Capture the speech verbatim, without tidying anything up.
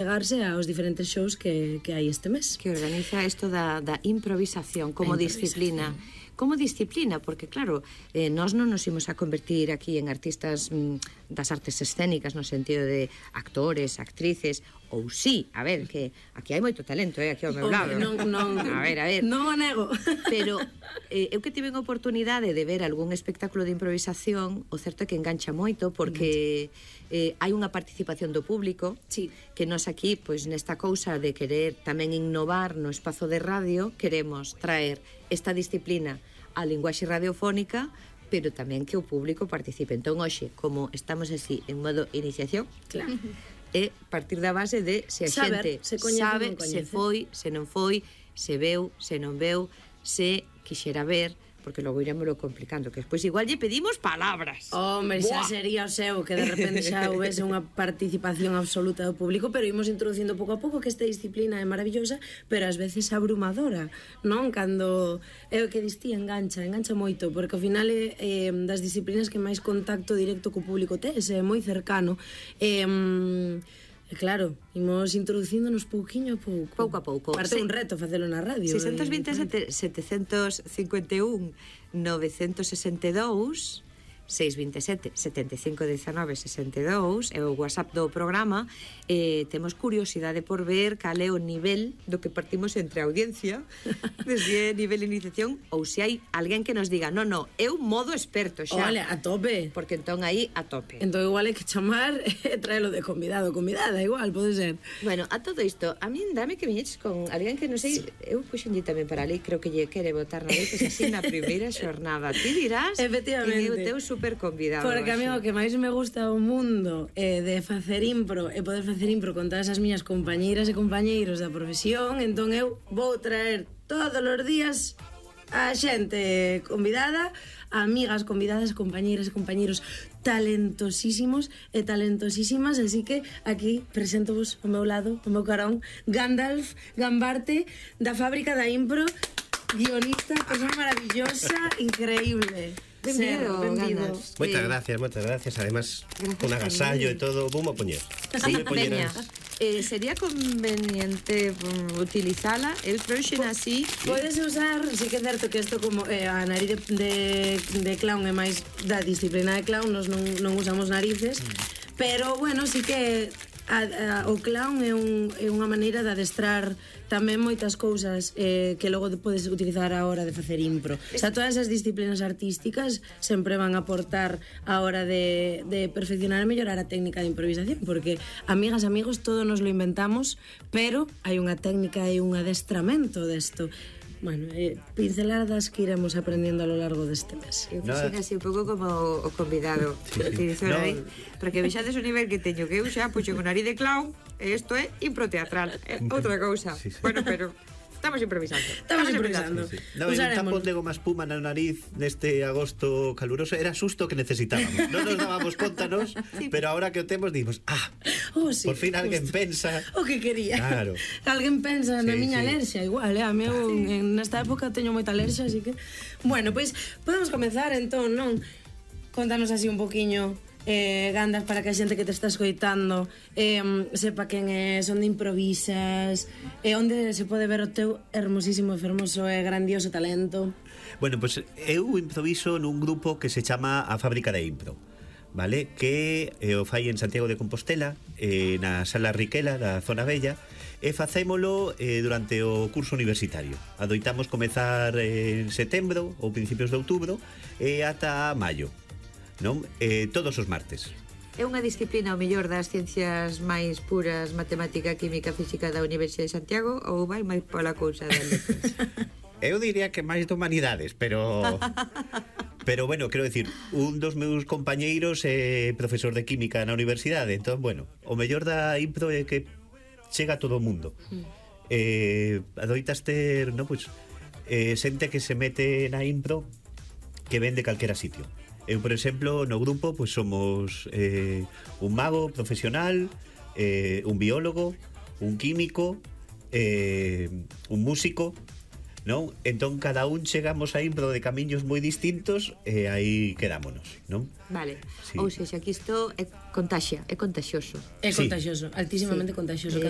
chegarse aos diferentes shows que, que hai este mes. Que organiza isto da, da improvisación como disciplina. Como disciplina, porque claro, eh, nós non nos imos a convertir aquí en artistas mm, das artes escénicas no sentido de actores, actrices, ou sí, a ver, que aquí hai moito talento, eh, aquí ao meu lado. Non, non, a ver, a ver. Non o nego. Pero eh, eu que tive a oportunidade de ver algún espectáculo de improvisación, o certo é que engancha moito, porque eh, hai unha participación do público, sí, que nós aquí, pois nesta cousa de querer tamén innovar no espazo de radio, queremos traer esta disciplina a linguaxe radiofónica, pero tamén que o público participe. Entón, hoxe, como estamos así en modo iniciación, claro, é partir da base de se a saber, xente se coñece, sabe, non coñece. se foi, se non foi, se veu, se non veu, se quixera ver, porque logo irémoslo complicando, que despois igual lle pedimos palabras. Hombre, xa Buah. sería o seu que de repente xa houvese unha participación absoluta do público, pero imos introducindo pouco a pouco que esta disciplina é maravillosa, pero ás veces abrumadora, non? Cando é o que distí, engancha, engancha moito, porque ao final é eh, das disciplinas que máis contacto directo co público tes, é moi cercano. Eh, E claro, imos introducíndonos pouquiño a pouco. Pouco a pouco. Parte Se... un reto facelo na radio. seiscentos vinte e sete, setecentos cincuenta e un, novecentos sesenta e dous, seiscentos vinte e sete, setenta e cinco, dezanove, sesenta e dous, é o WhatsApp do programa. Eh, temos curiosidade por ver cal é o nivel do que partimos entre a audiencia, desde nivel de iniciación, ou se hai alguén que nos diga, no, no, é un modo experto xa. Olha, a tope. Porque entón aí a tope. Entón igual hai que chamar e traelo de convidado, convidada, igual, pode ser. Bueno, a todo isto, a min dame que viñeches con alguén que non sei, eu puxenlle tamén para ali, creo que lle quere botar na lei, pois así na primeira xornada. Ti dirás que é o teu super convidado. Porque a mí o que máis me gusta o mundo é de facer impro e poder facer impro con todas as miñas compañeiras e compañeiros da profesión, entón eu vou traer todos os días a xente convidada, amigas convidadas, compañeiras e compañeiros talentosísimos e talentosísimas, así que aquí presento-vos ao meu lado, ao meu carón, Gandalf Gambarte, da Fábrica da Impro, guionista, persona maravillosa, increíble. Benvido, Gandalf. Moitas gracias, moitas gracias. Además, con agasallo e todo, vamos a poñer. Sí, veña. Eh, sería conveniente um, utilizala el froxen así. Podes usar, sí que é certo que isto como eh, a nariz de, de, de clown é máis da disciplina de clown, nos non, non usamos narices, mm. pero bueno, sí que a, a, o clown é, un, é unha maneira de adestrar tamén moitas cousas eh, que logo podes utilizar a hora de facer impro. O sea, todas as disciplinas artísticas sempre van a aportar a hora de, de perfeccionar e mellorar a técnica de improvisación, porque, amigas, amigos, todo nos lo inventamos, pero hai unha técnica e un adestramento desto. Bueno, eh, pinceladas que iremos aprendiendo a lo largo deste mes. Eu fixen así un pouco como o convidado sí, sí. No. No. Para que vexades o nivel que teño, que eu xa puxen o nariz de clown e isto é impro teatral, é outra cousa. Sí, sí. Bueno, pero estamos improvisando. Estamos, estamos improvisando. Sí, sí. No, un tapón de goma espuma na nariz neste agosto caluroso era susto que necesitábamos. Non nos dábamos conta nos, sí. Pero ahora que o temos dimos, ah, oh, sí, por fin alguén justo pensa o que quería. Claro. Alguén pensa sí, na miña sí. alerxia, igual, eh? A meu sí. En nesta época teño moita alerxia, así que bueno, pois pues, podemos comezar entón, non? Contanos así un poquiño eh, Gandalf, para que a xente que te está escoitando eh, sepa quen é, onde improvisas e eh, onde se pode ver o teu hermosísimo, fermoso e grandioso talento. Bueno, pois pues, eu improviso nun grupo que se chama a Fábrica de Impro, vale? Que eh, o fai en Santiago de Compostela, eh, na Sala Riquela da Zona Bella, e facémolo eh, durante o curso universitario. Adoitamos comezar eh, en setembro ou principios de outubro e ata maio, non? Eh, todos os martes. É unha disciplina o mellor das ciencias máis puras, matemática, química, física da Universidade de Santiago, ou vai máis pola cousa da letras? Eu diría que máis de humanidades, pero pero bueno, quero decir, un dos meus compañeiros é profesor de química na universidade, entón, bueno, o mellor da impro é que chega a todo o mundo. Mm. Eh, adoitas ter, no, pues, eh, xente que se mete na impro que ven de calquera sitio. Eu, por exemplo, no grupo pues somos eh, un mago profesional, eh, un biólogo, un químico, eh, un músico, non? Entón cada un chegamos a impro de camiños moi distintos e aí quedámonos, non? Vale, Sí. ou seja, que isto é contaxia, é contaxioso. É Sí. contagioso, altísimamente Sí. contagioso. Eh, Cando